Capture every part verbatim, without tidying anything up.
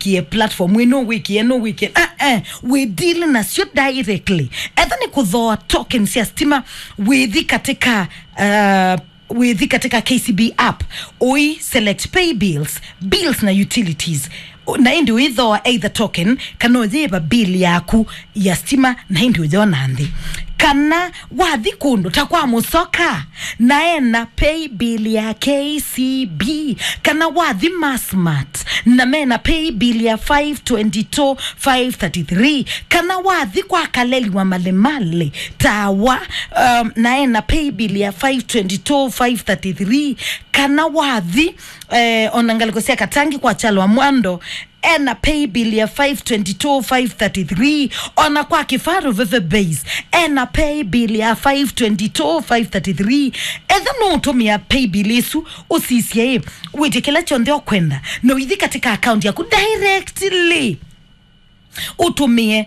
wĩkie platform ĩno, wĩkie ĩno, wĩkie, ah, eh, wĩ deal nasyo directly. Etha nĩ kũthooa token sya stima, wĩthi katika, uh, wĩthi katika K C B app, ũi select pay bills, bills na utilities. Na ĩndĩ ũithooa either token kana ũyĩva bill yaku ya stima, na ĩndĩ ũyona nthĩ. Kana wathi kũndũ ta kwa Mũsoka, na ena pay bill ya K C B, kana wathi Massmart, na mena pay bill ya five twenty-two five thirty-three, kana wathi kwa Kaleli wa Malemale Tawa, um, na ena pay bill ya five twenty-two five thirty-three, kana wathi, eh, ona ngalĩko sya Katangi kwa Kyalo wa Mwando, ena pay bill ya five twenty-two five thirty-three, ona kwa Kifaru Veve Base, ena pay bill ya five twenty-two five thirty-three. Etha nũũtũmĩa pay bill ĩsu, ũsisye ĩ, wĩtye kĩla kyonthe ũkwenda, na ũithi katika account yaku directly, ũtũmĩe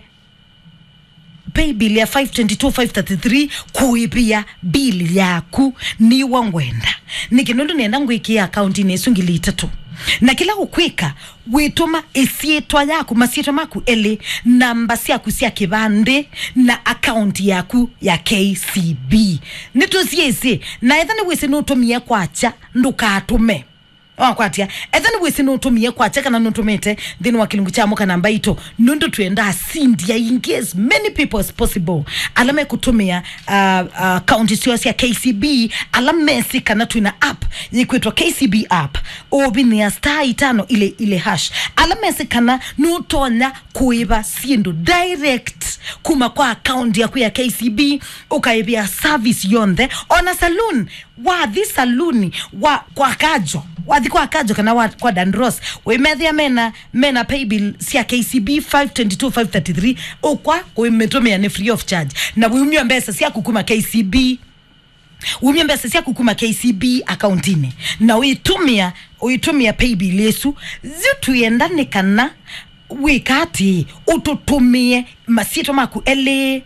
pay bill ya five twenty-two five thirty-three kũĩvĩa bill yaku. Nĩw'o ngwenda. Nĩkĩ? Nũndũ nĩenda ngwĩkĩe akauntinĩ ĩsu ngili itatũ. Na kĩla ũkwĩka, wĩtũma ĩsyĩtwa yaku, masyĩtwa maku elĩ, namba syaku sya kĩvandĩ, na akaunti yaku ya K C B. Nĩtũsyĩsĩ, na etha nĩwĩsĩ nũtũmie kwakya, ndũkatũme. Wakwatya, etha nĩwĩsĩ nũtũmie kwakya kana nũtũmĩte nthĩnĩ wa kĩlungu kya mũka namba itũ, nũndũ twenda asindi aingĩ, as many people as possible, ala mekũtũmĩa, uh, uh, akaunti syoo sya K C B, ala mesĩ kana twĩna app yĩkwĩtwa K C B app, ũvinĩa star itano ile ile hash, ala mesĩ kana nũtonya kũĩva syĩndũ direct kuma kwa akaunti yaku ya K C B, ũkaĩvĩa service yonthe, ona saloon. Wathi saluni wa, kwa Kajo, wathi kwa Kajo kana wa, kwa Dandros, wĩmethĩa mena, mena pay bill sya K C B five twenty-two five thirty-three, ũkwa kũmĩtũmĩa nĩ free of charge. Na wĩumya mbesa syaku kuma K C B, wĩumya mbesa syaku kuma K C B akauntinĩ, na ũitũmĩa, ũitũmĩa pay bill ĩsu. Yu twĩenda nĩ kana wĩka atĩĩ, ũtũtũmĩe masyĩtwa maku elĩ.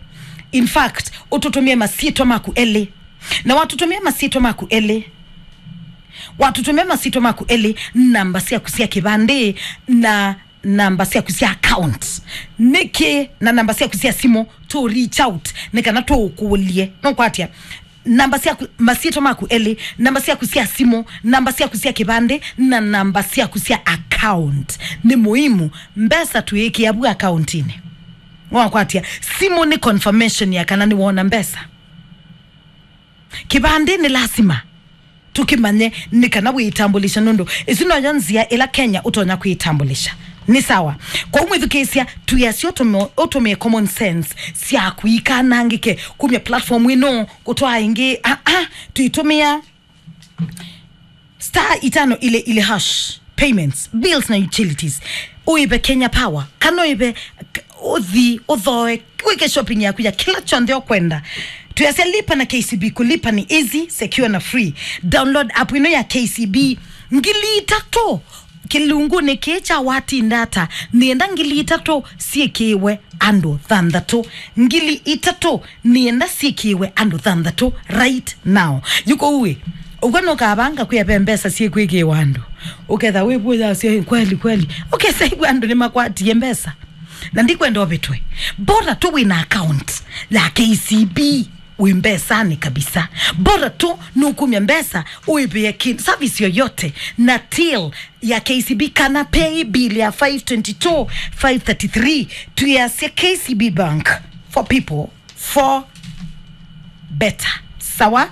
In fact, ũtũtũmĩe masyĩtwa maku elĩ. Na watũtũmĩa masyĩtwa maku elĩ, watũtũmĩa masyĩtwa maku elĩ, namba syaku sya kĩvandĩ, na namba syaku sya account. Nĩkĩ? Na namba syaku sya simũ, tũ reach out, nĩ kana tũũkũlye. Nũkwatya? Namba syaku, masyĩtwa maku elĩ, namba syaku sya simũ, namba syaku sya kĩvandĩ, na namba syaku sya account. Nĩ muhimu, mbesa tũĩkĩa vu akauntinĩ. Wakwatya, simũ nĩ confirmation ya kana nĩwona mbesa. Kĩvandĩ nĩ lasima tũkĩmanye nĩ kana wĩĩtambulisha, nũndũ ĩsu noyo nzĩa ĩla Kenya ũtonya kwĩĩtambulisha. Nĩ sawa. Kwa mwĩthukĩĩsya, tũyasya ũtũmĩe, ũtũmĩe common sense syaku ikanangĩke kumya platform ĩno kũtwaa ĩngĩ. Ah, ah, tũitũmĩa star itano ile ile hash, payments, bills na utilities. Ũĩve Kenya Power, kana ũĩve k-, ũthi ũthoe, wĩke shopping yaku ya kĩla kyonthe ũkwenda. Tũyasya lipa na K C B, kulipa ni easy, secure na free. Download app ĩno ya K C B. Ngili itatũ kĩlungunĩ kĩĩ kya watinda ata, nĩenda ngili itatũ syĩkĩĩwe andũ thanthatũ. Ngili itatũ nĩenda syĩkĩĩwe andũ thanthatũ right now. Yu kũu ĩ, ũkw'a nũkavanga kwĩa ve mbesa syĩkwĩkĩĩwa andũ. Ũketha wĩvũyasya, "Ĩ, kweli, kweli." Ũkesa ĩw'a andũ nĩmakwatie mbesa. Na ndikwenda ũvĩtwe. Bora tu wĩna account ya K C B wĩ mbesanĩ kabisa. Bora tu nũkumya mbesa ũĩvĩe ki-, service yoyote na till ya K C B kana pay bill ya five twenty-two five thirty-three. Tũyasya K C B Bank, for people, for better. Sawa?